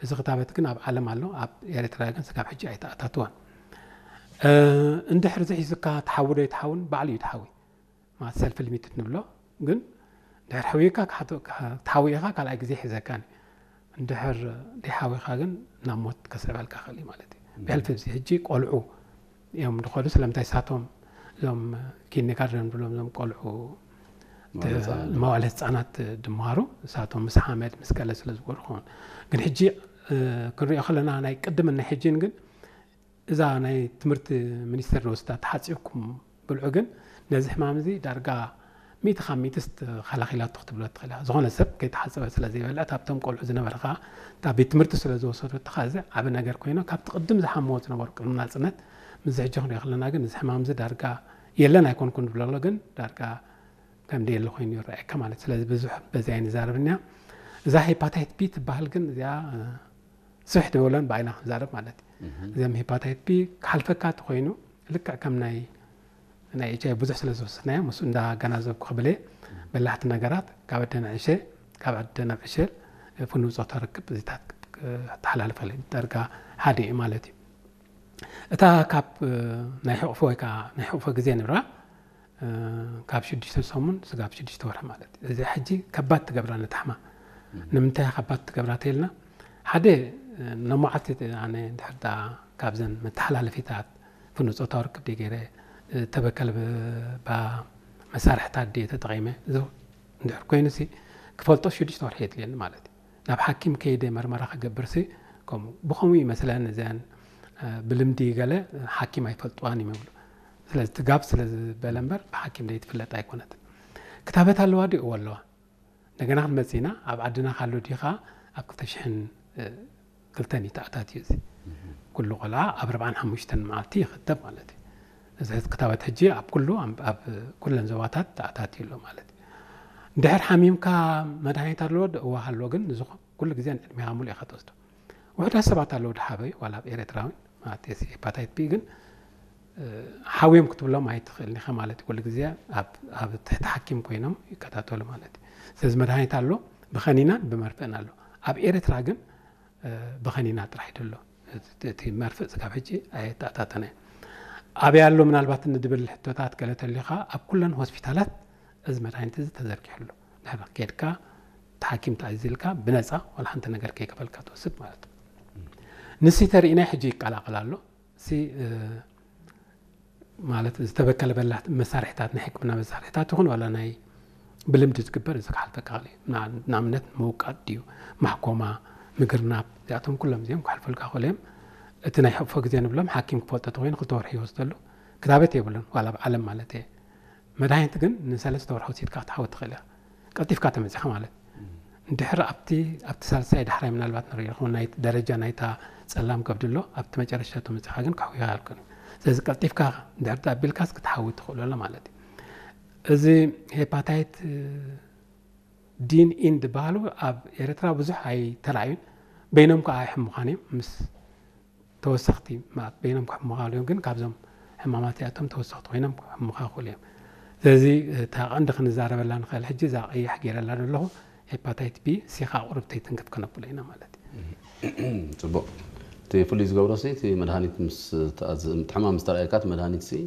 እዚ ክታበት ግን ኣብ ዓለም ኣሎ፣ ኣብ ኤርትራ ግን ስጋብ ሕጂ ኣይተኣታትወን። እንድሕር እዚ ሒዝካ ትሓዊ ዶ ይትሓውን? ባዕሉ እዩ ትሓዊ። ማለት ሰልፍ ሊሚትድ ንብሎ። ግን ድሕር ሕዊካ ክትሓውኢኻ ካልኣይ ግዜ ሒዘካን። እንድሕር ደይሓዊኻ ግን ናብ ሞት ከስዕበልካ ክእል እዩ ማለት እዩ። ብሕልፊ እዚ ሕጂ ቆልዑ እዮም ዝኸዱ። ስለምንታይ ሳቶም እዞም ኪንደርጋርደን ብሎም እዞም ቆልዑ መዋዕለ ህፃናት ድመሃሩ ሳቶም ምስ ሓመድ ምስ ገለ ስለ ዝገሩ ኸውን። ግን ሕጂ ክንሪኦ ከለና ናይ ቅድምን ናይ ሕጂን ግን እዛ ናይ ትምህርቲ ሚኒስቴር ዝወስዳ ተሓፂብኩም ብልዑ ግን ነዚ ሕማም እዚ ዳርጋ ሚእቲ ካብ ሚእቲ ተኸላኺላቶ ክትብሎ ትኽእል እያ። ዝኾነ ሰብ ከይተሓፀበ ስለ ዘይበልዕ ኣብቶም ቆልዑ ዝነበረ ከዓ እታ ቤት ትምህርቲ ስለ ዝወሰደቶ ከዓ እዚ ዓብ ነገር ኮይኖ ካብቲ ቅድም ዝሓምዎ ዝነበሩ ቅድሚ ናፅነት ምስዚ ሕጂ ክንሪኦ ከለና ግን እዚ ሕማም እዚ ዳርጋ የለን ኣይኮንኩን ዝብለሎ ግን ዳርጋ ከም ደየለ ኮይኑ ይረኣየካ ማለት። ስለዚ ብዙሕ በዚ ኣይንዛረብን እያ። እዛ ሄፓታይት ቢ ትበሃል ግን እዚኣ ስብሕ ድበሎን ብኣይና ክንዛረብ ማለት እዩ። እዚም ሄፓታይት ቢ ክሓልፈካ ተኮይኑ ልክዕ ከም ናይ ናይ ኤች ኣይ ቪ ብዙሕ ስለ ዝወሰድናዮ ምስ እንዳገናዘብኩ ክብል እየ። በላሕቲ ነገራት ካብ ኣደ ንዕሸ ካብ ኣደ ናብ ዕሸል ፍኑው ፆታ ርክብ እዚታት ተሓላልፈለ ደርጋ ሓደ እዩ ማለት እዩ። እታ ካብ ናይ ሕቕፎ ወይ ከዓ ናይ ሕቕፎ ግዜ ንብራ ካብ ሽዱሽተ ሰሙን ስጋብ ሽዱሽተ ወርሒ ማለት እዩ። እዚ ሕጂ ከባድ ትገብራ ነታሕማ ንምንታይ ከባድ ትገብራ ተልና ሓደ ነሞዓት ኣነ ድሕር ካብዘን መተሓላለፊታት ፍኑጾታዊ ርክብ ደ ገይረ ተበከል መሳርሕታት ደ ተጠቂመ እንድሕር ኮይኑ ሲ ክፈልጦ ሽዱሽተ ወርሒ የድልየኒ ማለት እዩ። ናብ ሓኪም ከይደ መርመራ ክገብር ሲ ከምኡ ብኸምኡ ይመስለን እዚኣን ብልምዲ ገለ ሓኪም ኣይፈልጥዋን ይመብሉ። ስለዚ ትጋብ ስለ ዝበለ እምበር ብሓኪም ደይትፍለጥ ኣይኮነትን። ክታበት ኣለዋ ድዩ? እወ ኣለዋ። እንደገና ክንመጽእ ኢና። ኣብ ዓድና ካሎ ድዩ ኸዓ ኣብ ክልተ ሽሕን ክልተን እዩ ተኣታትዩ እዚ። ኩሉ ቆልዓ ኣብ ኣርብዓን ሓሙሽተን መዓልቲ ይኽተብ ማለት እዩ። እዚ ክታበት ሕጂ ኣብ ኩሉ ኣብ ኩለን ዞባታት ተኣታትዩ ኣሎ ማለት እዩ። እንድሕር ሓሚምካ መድሃኒት ኣለዎ ዶ? እወ ኣሎ፣ ግን እዚ ኩሉ ግዜ ንዕድሜኻ ሙሉእ ኢኻ ትወስዶ። ውሑዳት ሰባት ኣለዉ ድሓበዩ ዋላ ኣብ ኤርትራውን ማለት ሲ ሄፓታይት ቢ ግን ሓውዮም ክትብሎም ኣይትኽእልን ኢኻ ማለት እዩ። ኩሉ ግዜ ኣብ ትሕቲ ሓኪም ኮይኖም ይከታተሉ ማለት እዩ። ስለዚ መድሃኒት ኣሎ ብኸኒናን ብመርፍእን ኣሎ። ኣብ ኤርትራ ግን ብኸኒና ጥራሕ ይደሎ እቲ መርፍእ ስጋብ ሕጂ ኣየተኣታተነ። ኣበይ ኣሎ ምናልባት ንድብል ሕቶታት ገለ ተልዩኻ ኣብ ኩለን ሆስፒታላት እዚ መድሃኒት እዚ ተዘርጊሑ ኣሎ። ድሕሪ ኬድካ እቲ ሓኪም ተኣዚዝልካ ብነፃ ዋላ ሓንቲ ነገር ከይከፈልካ ትወስድ ማለት እዩ። ንሲ ተርእናይ ሕጂ ይቀላቀል ኣሎ። ሲ ማለት ዝተበከለ በላሕቲ መሳርሕታት ናይ ሕክምና መሳርሕታት ይኹን ዋላ ናይ ብልምዲ ዝግበር እዚ ክሓልፈካ ክእል እዩ። ንኣብነት ምውቃጥ ድዩ ማሕኮማ ምግርናብ እዚኣቶም ኩሎም እዚኦም ክሓልፈልካ ክእል እዮም። እቲ ናይ ሕቕፎ ግዜ ንብሎም ሓኪም ክፈልጦ ተኮይኑ ክልተ ወርሒ ይወስደሉ። ክታበት የብሉን ዋላ ኣብ ዓለም ማለት እየ። መድሃኒት ግን ንሰለስተ ወርሒ ወሲድካ ክትሓወት ትኽእል ኢኻ። ቀልጢፍካ ተመፂኻ ማለት እንድሕር ኣብቲ ኣብቲ ሳልሳይ ዳሕራይ ምናልባት ንርኢ ይኸውን ናይ ደረጃ ናይታ ፀላም ከብዲ ኣሎ ኣብቲ መጨረሻ ተመፂኻ ግን ክሕውያ ኣልኮን። ስለዚ ቀልጢፍካ እንድሕር ተኣቢልካስ ክትሓዊ ትኽእሉ ኣሎ ማለት እዩ። እዚ ሄፓታይት ዲን ኢን ዝበሃሉ ኣብ ኤርትራ ብዙሕ ኣይተራእዩን። በይኖም ከዓ ኣይሕምዃን እዮም ምስ ተወሰኽቲ ማለት በይኖም ክሕምኻ እዮም ግን ካብዞም ሕማማት እዚኣቶም ተወሰኽቲ ኮይኖም ክሕምኻ ይኽእሉ እዮም። ስለዚ እታ ቀንዲ ክንዛረበላ ንኽእል ሕጂ እዛ ቀያሕ ገይረላ ዘለኹ ሄፓታይት ቢ ሲኻ ቁርብተይ ትንክፍ ከነብሎ ኢና ማለት እዩ። ፅቡቅ። እቲ ፍሉይ ዝገብሮ ሲ እቲ መድሃኒት ምስ ተኣዝ- እቲ ሕማም ምስ ተረኣየካ እቲ መድሃኒት ሲ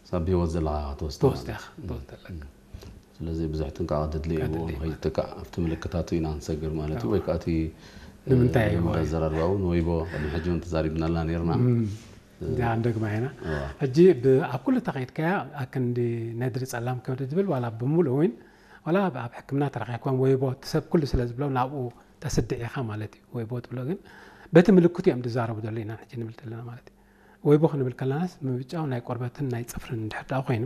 ሳብ ብህይወት ዘለኻ ክትወስድ ትወስድ ኢኻ ትወስድ ኣለካ። ስለዚ ብዙሕ ጥንቃቐ ድድሊ እዩ ከድሊ እዩ ማለት ንኸይትጥቃዕ ኣብቲ ምልክታቱ ኢና ንሰግር ማለት እዩ ወይ ከዓ እቲ ንምንታይ እዩ እንዳዘራርባ እውን ወይቦ ቅድሚ ሕጂ እውን ተዛሪብናላ ነርና እዚኣ እንደግማ ኢና ሕጂ ኣብ ኩሉ ተኸይድካያ ኣክንዲ ነድሪ ፀላም ከብዲ ዝብል ዋላ ብምሉእ እውን ዋላ ኣብ ሕክምና ተረኪብካም ወይቦ እቲ ሰብ ኩሉ ስለ ዝብሎ ናብኡ ተስድዕ ኢኻ ማለት እዩ። ወይቦ ትብሎ ግን በቲ ምልክቱ እዮም ዝዛረቡ ዘሎ ኢና ሕጂ ንብል ዘለና ማለት እዩ። ወይቦ ክንብል ከለናስ ምብጫው ናይ ቆርበትን ናይ ፅፍርን እንድሕር ደኣ ኮይኑ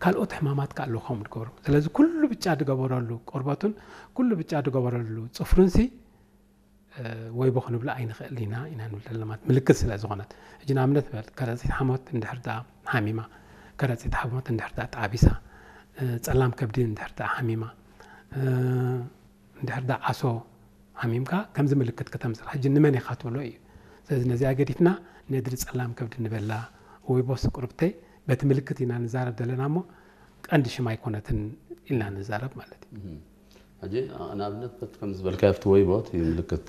ካልኦት ሕማማት ከ ኣለዎም ዝገብሩ። ስለዚ ኩሉ ብጫ ዝገበረሉ ቆርበቱን ኩሉ ብጫ ዝገበረሉ ፅፍሩን ሲ ወይቦ ክንብሎ ኣይንኽእል ኢና ኢና ንብል ዘለና ማለት ምልክት ስለ ዝኾነት። ሕጂ ንኣብነት በል ከረፂት ሓሞት እንድሕር ደኣ ሓሚማ፣ ከረፂት ሓሞት እንድሕር ደኣ ተዓቢሳ፣ ፀላም ከብዲ እንድሕር ደኣ ሓሚማ፣ እንድሕር ደኣ ዓሶ ሓሚምካ ከምዚ ምልክት ከተምፅእ ሕጂ ንመን ኢኻ ትብሎ እዩ። ስለዚ ነዚኣ ገዲፍና ነድሪ ፀላም ከብዲ ንበላ ወይ ቦስ ቁርብተይ በቲ ምልክት ኢና ንዛረብ ዘለና እሞ ቀንዲ ሽም ኣይኮነትን ኢልና ንዛረብ ማለት እዩ። ሕጂ ንኣብነት በቲ ከም ዝበልካዮ ኣብቲ ወይቦ እቲ ምልክት